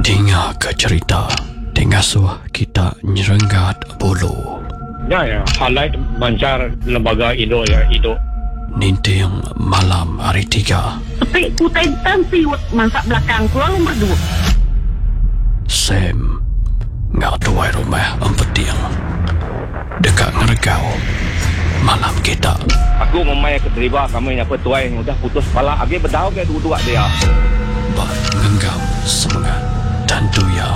Dinga ke cherita ti ngasuh kita nyerenggat bulu. Nya iya highlight manchar lembaga indu iya indu. Ninting malam hari tiga. Peti ku utai tan siut mansa belakang ku lalu meredup. Sam enggau tuai rumah Empeting deka ngeregau malam kita. Aku ngumbai ke deriba kami nya pun tuai udah putus pala agi bedau ga duduk dia. Ba ngenggam semengat tentu iya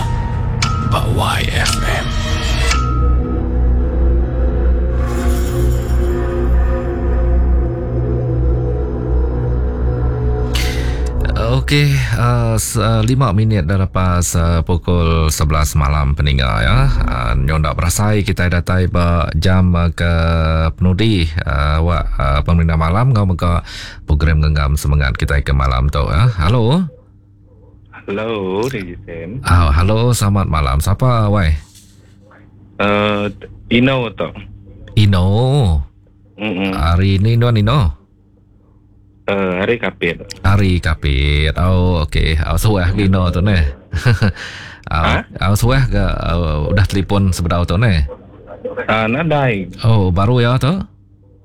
ba YFM. Okey, uh, 5 minit dah lepas uh, pukul 11 malam peninga ya. Uh, nyo ndak berasai kita datai ba jam uh, ke penudi uh, awak uh, pemerintah malam ngau mega program genggam semangat kita ke malam tu ya. Halo. Halo, DJ Sam. Oh, halo, selamat malam. Siapa wai? Uh, Ino tu. Ino. Mm-mm. Hari ni nuan Ino? Uh, hari Kapit. Hari Kapit. Oh, okey. Oh, suah ke Ino tu neh. Oh, Ha? oh, suah ke uh, udah telefon sebedau tu neh? Ah, nadai. Oh, baru ya tu?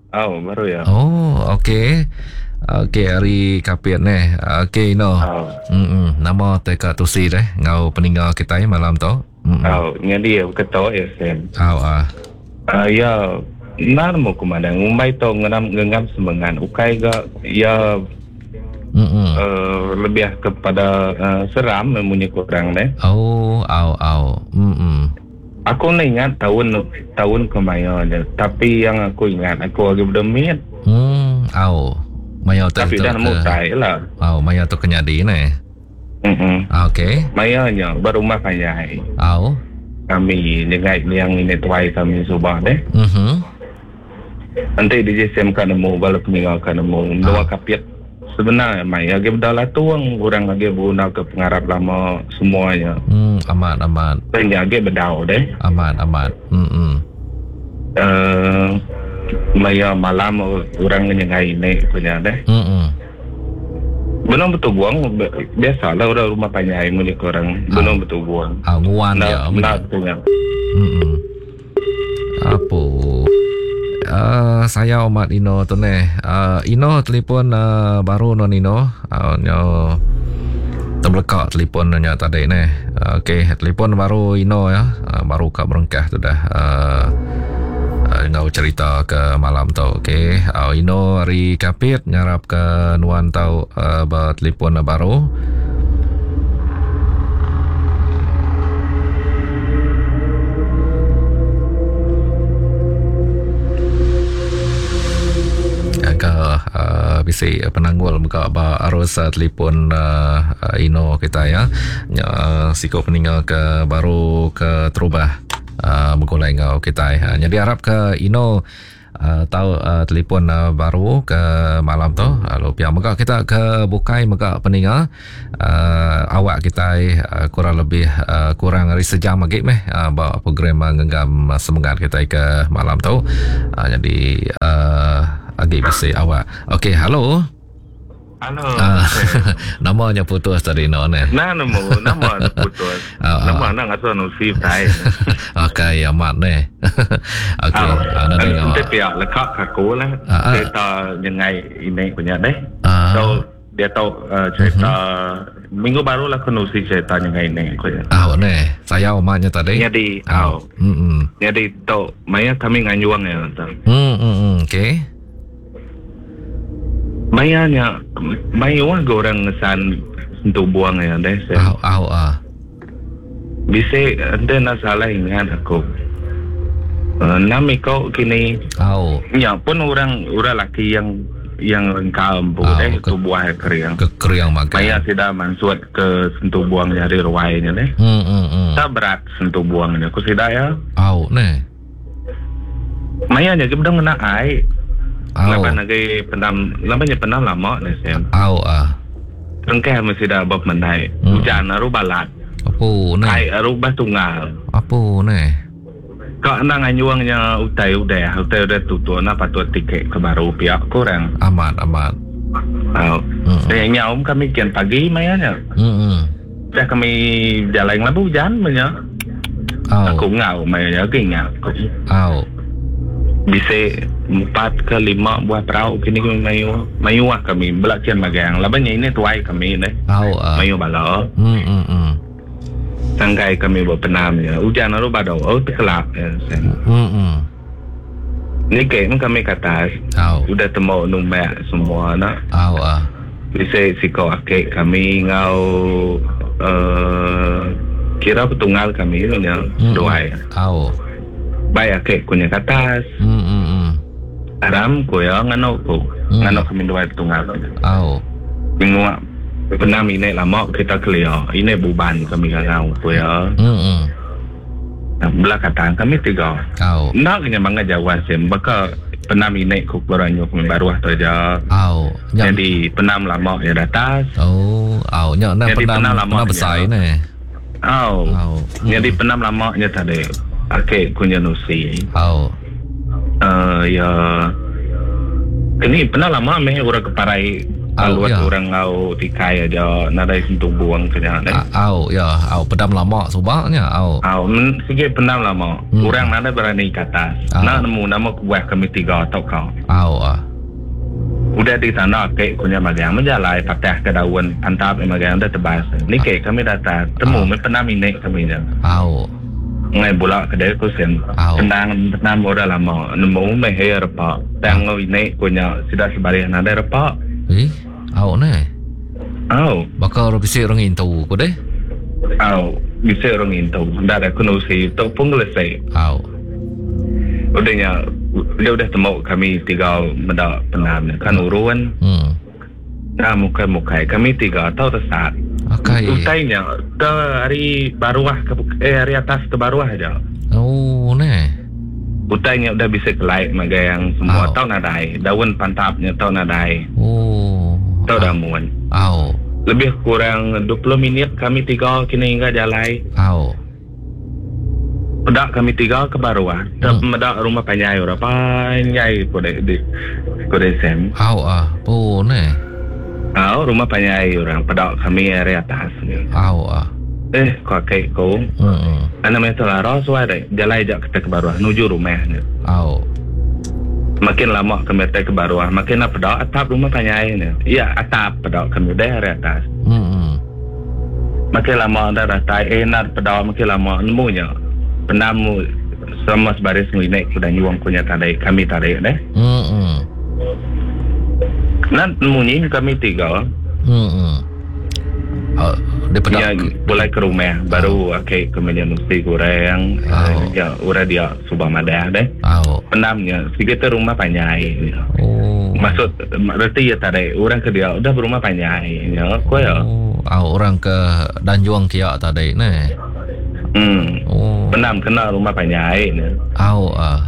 Oh, baru ya. Oh, okey. Okey, hari Kapit neh. Okey, Ino. Oh. Mm-mm. Nama teka tusi deh ngau peninga kita malam tu. Mm-mm. Oh, jadi ya ketua ya Sam. Oh, ah. Ah, ya nar mo kumada ngumbai to ngenam ngenggam semengan ukai ga ya Mm-mm. uh, lebih kepada uh, seram memunyi kurang deh. Oh, au au. Mm-mm. Aku ni ingat tahun tahun kemaya je. Tapi yang aku ingat aku lagi berdemit. Au. Maya tu Tapi tu dah ke- nemu tai lah. Au, maya tu kenyadi ne. Mm-mm. Ah, okey. Mayanya berumah panjai. Au. Kami nyengai yang ini tuai kami subah deh. Mhm. Nanti DJ Sam kan nemu bala peninggal kan nemu dua kapit. Sebenarnya mai lagi bedala tuang orang lagi guna ke pengarap lama semuanya. Amat amat. Tanya lagi bedau deh. Amat amat. Mm. Eh maya malam orang nyengai ini punya deh. Mm. Belum betul buang biasalah orang rumah panjai milik orang belum betul buang. Ah, nguan ya. Nak nak punya. Mm. Apa? Saya Ahmad Ino tu neh. Ino telefon baru non Ino. Nyo terbelakak telefon nya tadi neh. Okey, telefon baru Ino ya. Baru kat berengkah tu dah. Ngau cerita ke malam tu. Okey. Ino hari Kapit ngarap ke nuan tau bertelefon baru. Ke bisi penanggul muka ba arus telefon Ino kita ya. Nya siko peninggal ke baru ke terubah begulai ngau kita. Jadi harap ke Ino tahu telefon baru ke malam tu. Lalu pihak mega kita ke bukai mega peninga awak kita kurang lebih kurang hari sejam lagi meh ba program ngenggam semangat kita ke malam tu. Jadi agi bisi awak. Okey, halo. Halo. Namanya putus tadi no ne. Nah, nemu nama putus. Nama nak ngaso nusi tai. Okey, amat ne. Okey, ana tengok. Nanti pihak lekak aku lah. Cerita nyengai ini punya deh. So dia tahu cerita minggu baru lah aku nusi cerita nyengai ini aku ya. Ah, ne. Saya amatnya tadi. Jadi, au. Jadi tu maya kami nganyuang ya tu. Okey. Mayanya mayu ke orang ngesan sentuh buang ya deh. Au au ah. Bisa ente nak salah ingat aku. Nami kau kini. Au. Ya pun orang orang laki yang yang lengkap bu deh tu buah keriang. Ke keriang makan. Maya tidak mansuat ke sentuh buang dari ruainya deh. Tak berat sentuh buangnya. Aku tidak ya. Au ne. Maya nya kita kena ai. Lapan lagi pendam, lapan je pendam lama ni Sam. Au ah. Tengkeh mesti dah bab mendai. Hujan aru balat. Apa ni? Ai aru bah tunggal. Apa ni? Kak nang anyuangnya utai udah, utai udah tutup na patut tiket ke baru pihak kurang. Amat amat. Au. Saya nyaum kami kian pagi mayanya. Dah kami bejalai ngelabu ujan meh nya. Aku enggau maya nya agi ingat aku. Bisi empat ke lima buah perau kini kami mayuh. Mayuh kami bela kin magang laban nya ini tuai kami deh. Mayuh bala. Sangkai kami ba penam nya ujan lalu badu oh tekelap nya. Niki meh kami ke atas. Udah tembu numbak semua ne. Bisi siko aki kami enggau uhh kira petunggal kami meh nya seduai. Bai aki ku nya ke atas. Aram ku iya nganu ku. Nganu kami duai petunggal ku nya. Nyenguk penam ini lama kita kelia. Ini buban kami ngangau ku iya. Bela kata kami tiga. Au. Enda ke nya bangga jauh asin baka penam ini ku keluar anyu kami baruh tu aja. Au. Nya Jadi penam lama nya datas. Oh, au nya enda Jadi penam penam lama penam nya. besai neh. Au. Au. Jadi penam lama nya tadi ake ku nya nusi. Au. Uh, ya keni penam lama meh orang ke parai Au, Alut ya. orang enggau tikai aja nadai sentubung ke nya deh. Au ya, au pedam lama suba nya au. Au men sigi pendam lama. Hmm. Orang nadai berani ke atas. Au. Enda nemu nama kebuah kami tiga tauka. Au ah. Udah ditanda ake ku nya magang menjalai patah ke daun pantap nya magang udah tebas. Niki kami datas temu meh pendam inik kami nya. Au. Ngai bula ke deh ku sin. Au. Endang pendam orang lama nemu meh iya repa. Tang enggau inik ku nya sida sebarih nadai repa. Eh, au neh. Au. Baka orang bisi orang ngintu ku deh. Au, bisi orang ngintu. Enda deh aku nusi tu pun ngelese. Au. Udah nya dia udah temu kami tiga meda pendam nya kan urun. Hmm. Enda mukai-mukai kami tiga tau tesat. Akai. Utai nya ke ari baruh ke eh ari atas ke baruh aja. Oh neh. Utai nya udah bisi kelai magang semua Au. tau nadai. Daun pantap nya tau nadai. Oh. Tau damun. Au. Lebih kurang 20 minit kami tiga kini hingga jalai. Au. Peda kami tiga ke baruh te meda rumah panjai orang panjai ku dek di ku dek Sam. Au ah pu neh. Au rumah panjai orang peda kami ari atas ni. Au ah. Eh ku aki ku. Hmm. Anak meh telara suai dek jalai ja kita ke baruh nuju rumah ni. Au. Makin lama kami atai ke baruh makin nak peda atap rumah panjai ni. Ya atap peda kami deh ari atas. Hmm. Makin lama enda datai eh enda peda makin lama nemu nya pendam sama sebaris enggau inek ku Danyung ku nya tadi kami tadi deh. Hmm. Enda nemu nyi kami tiga. Hmm. Uh, dia peda Nya pulai ke rumah baru ake ke menya nusi goreng Oh. ya orang dia suba madah deh. Au. Pendam nya sigi tu rumah panjai. Oh. Maksud reti iya tadi orang ke dia udah berumah panjai nya ko iya. Oh, au orang ke Danjung kia tadi neh. Hmm. Oh. Pendam kena rumah panjai nya. Au ah.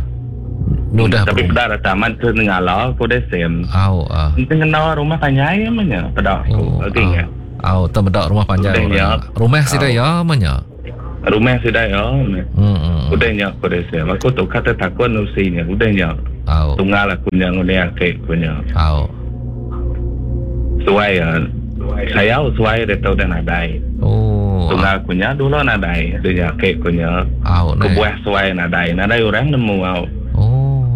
Nu dah Tapi berumah. peda rata amat ke nengala ko deh Sam. Au ah. Enti ngena rumah panjai mah nya peda aku. Oh, Agi ingat. Au, teu meda rumah panjai Udah nya. orang. Rumah sida Au. iya mah nya. Rumah sida iya. Hmm. Udah nya ko deh Sam. Aku tu kata takut nusi nya. Udah nya. Au. Tunggal aku nya nguni aki ku nya. Au. Suai ya. Sayau suai dia tu udah nadai. Oh. Tunggal ku nya dulu nadai. Dia nya aki ku nya. Au neh. Kebuah suai nadai. Nadai orang nemu au. Oh.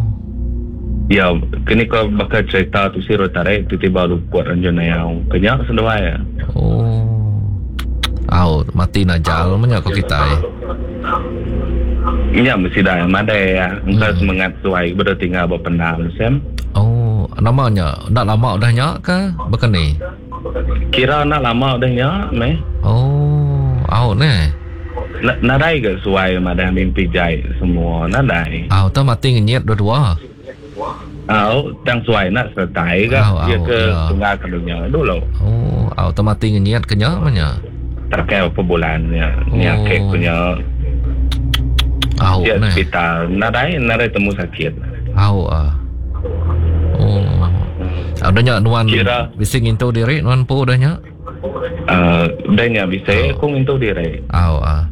Ya, kini ko baka cerita tu si tarik tiba-tiba luput ranjun ayau. Kenya seduai ya. Oh. Au, mati najal menya ko kitai. Nya mesti dah madai ya. Engka semangat suai beda tinggal ba pendam Sam. Oh, nama nya? Enda lama udah nya ke baka ni? Kira enda lama udah nya meh. Oh, au neh. Nadai ga suai madah mimpi jai semua nadai. Au, tau mati ngenyit dua-dua. Au, tang suai nak sertai ga Au, dia au, ke ya. tunggal ke dunya dulu. Oh, au tau mati ngenyit ke nya meh nya. Terkai berapa bulan nya. Nya Oh. kek punya Au dia neh. hospital nadai nadai temu sakit. Au ah. Oh. Au dah nya nuan Kira- bisi ngintu diri nuan empu dah nya. Uh, dah nya bisi aku ngintu diri. Au ah.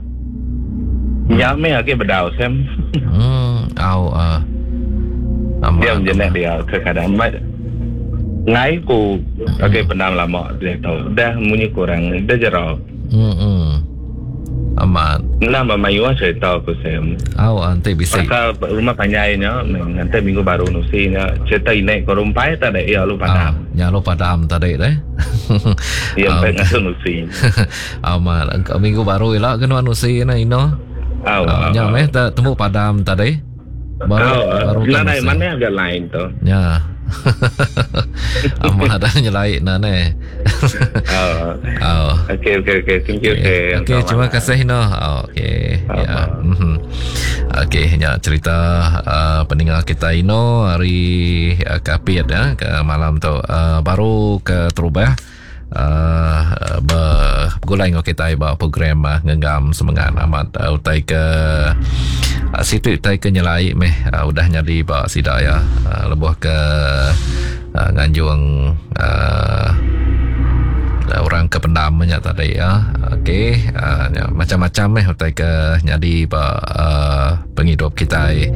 Nya meh agi bedau Sam. Hmm, au ah. Amat. Dia menjenak dia kekadang mat ngai ku agi pendam lama dia tau. Dah munyi kurang dah jera. Hmm. Amat. Enda memayuh cerita ku Sam. Au enti bisi. Pasal rumah panjai nya nganti minggu baru nusi nya cerita inek ko rumpai tadi iya lu padam. Ah, nya lu padam tadi deh. Iya empai ngasuh nusi. Amat minggu baru ila ke nuan nusi ne ino. Au. Nya meh tembu padam tadi. Baru oh, baru kan nadai mana agak lain tu. Ya. Amat dah nyelai na ne. Oh. Oh. Okey okey okey. Thank you. Okey, okay, terima kasih no. Oh, okey. Ya. Mhm. Okey, nya cerita uh, pendengar kita Ino hari uh, Kapit ya ke malam tu uh, baru ke terubah uh, begulai enggau kitai ba program uh, ngenggam semengat amat uh, utai ke uh, situ utai ke nyelai meh uh, udah nyadi ba sida ya uh, lebuh ke uh, nganjung uh, orang ke pendam nya tadi ya. Okey, uh, macam-macam meh utai ke nyadi ba uh, pengidup kitai.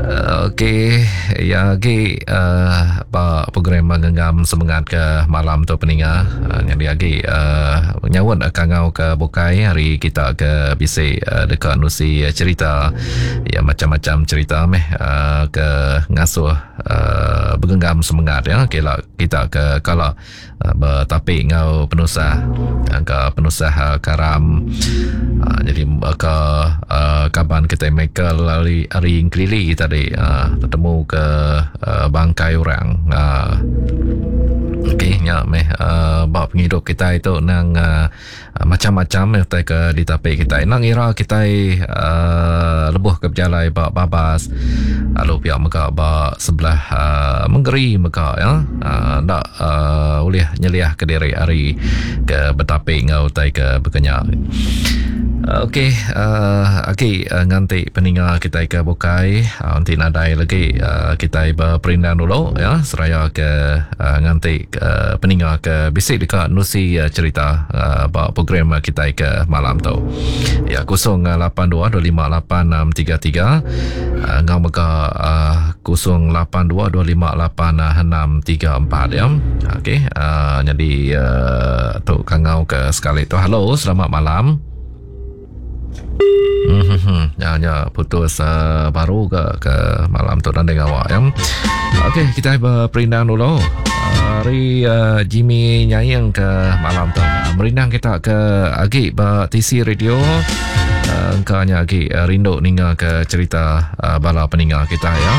Uh, Okey, ya agi uh, ba program ngenggam semengat ke malam tu peninga. Uh, nyadi agi uh, nyaut kangau ke bukai hari kita ke bisi uh, deka nusi cerita ya macam-macam cerita meh uh, ke ngasuh uh, begenggam semengat ya kila kita ke kala betapi enggau penusah engka penusah eh, karam eh, jadi ke eh, kaban kita Michael ari ari Engkelili tadi tetemu ke bangkai orang Okey nya meh ba pengidup kita itu nang Macam-macam meh utai ke ditapi kitai. Enda ngira kitai uhh lebuh ke bejalai ba babas lalu pia mega ba sebelah uhh mengeri mega ya uhh enda uhh ulih nyeliah ke diri ari ke betapi enggau utai ke baka nya. Okey uhh agi nganti peninga kitai ke bukai enti nadai lagi uhh kitai beperindang dulu ya seraya ke nganti peninga ke bisi deka nusi cerita ba program kitai ke malam tu. Ya 0822586633 enggau mega 0822586634 ya. Okey nyadi tu kangau ke sekali tu. Halo selamat malam. Mm-hmm. Ya, ya, putus uh, baru ke ke malam tu dan dengan awak ya. Okey, kita berperindang dulu. Hari uh, Jimmy nyaing ke malam tu. Merindang kita ke agi ba TC Radio. Uh, engkanya agi uh, rindu ninga ke cerita uh, bala peninga kita ya.